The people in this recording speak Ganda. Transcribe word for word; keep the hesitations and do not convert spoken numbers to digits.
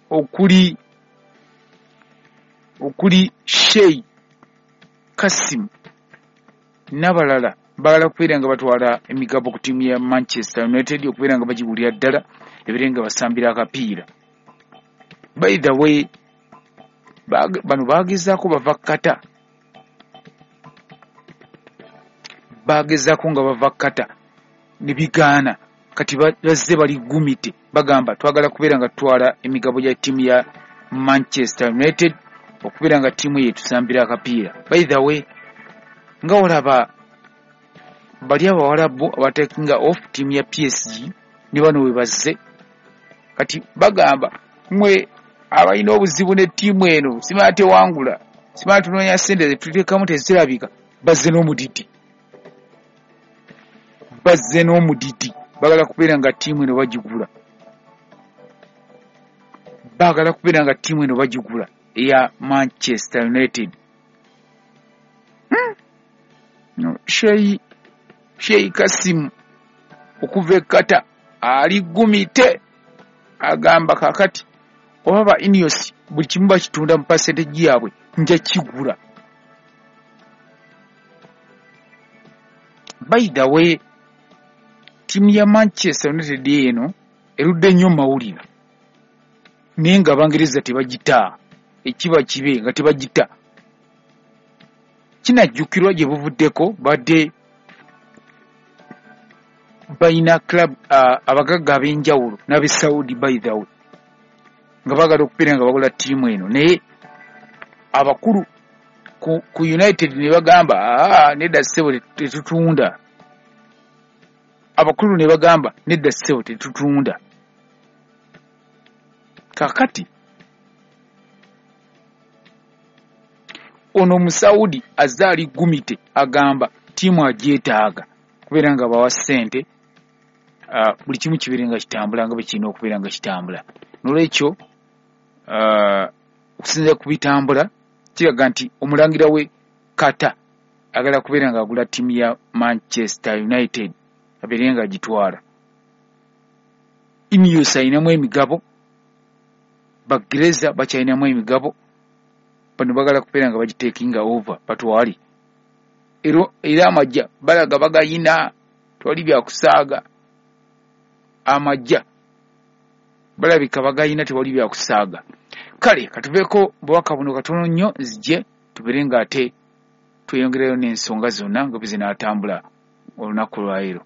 Okuli okuli Sheikh Kasim n'abalala baagala kubeera nga batwala emigabo ku ttiimu ya Manchester United, okubeera nga bagigulira ddala ebeere nga basambira akapiira. By the way, bano baagezaako bava Qatar, baagezaako nga bava Qatar ne bigaana. Kati bazze bali gumite, bagamba twagala kubeera nga tutwala emigabo gya ttiimu ya Manchester United okubeera nga ttiimu ye tusambira akapiira. By the way, nga olaba bali abawalabu abatekinga off ttiimu ya P S G ne bano we bazze, kati bagamba mwe abalina obuzibu ne ttiimu eno simala tewangula, simala tunoonya ssente zetuteekamu tezirabika, bazze n'omudidi, bazze n'omudidi, baagala kubeera nga ttiimu eno bagigula, baagala kubeera nga ttiimu eno bagigula eya Manchester United. Hmm? No, Sheikh Sheikh Kasim okuva e Qatar ali gumite, agamba kakati oba ba Ineos buli kimu bakitunda mu percentage yaabwe nja kigula. By the way, ttiimu ya Manchester United eno erudde nnyo mawulire, naye nga Abangereza tebagita, ekiba kibe nga tebagita. Kinajjukirwa gye buvuddeko badde balina club uh, abagagga ab'enjawulo n'ab'e Saudi, by the way, nga baagala okubeera nga bagula ttiimu eno, naye abakulu ku, ku United ne bagamba aa nedda ssebo tetutunda. Abakulu ne bagamba nedda ssebo tetutunda. Kaakati ono Musaudi azze ali gumite, agamba ttiimu agyetaaga kubeera nga bawa ssente, uh, buli kimu kibeere nga kitambula nga bwe kirina okubeera nga kitambula. N'olwekyo uh, okusinziira ku bitambula kiraga nti omulangira we Qatar agala kubeera nga agula ttiimu ya Manchester United abeere nga agitwala. Ineos ayinamu emigabo, Bagereza bakyalinamu emigabo, bano bagala kubeera nga bagitekinga over batwale. Era amajja balaga bagayina, twali byakusaaga. Amajja balabika bagayina, tewali byakusaaga. Kale katuveeko bubaka buno katono nnyo, nzije tubeere nga ate tweyongerayo n'ensonga zonna nga bwe zinaatambula olunaku lwaleero.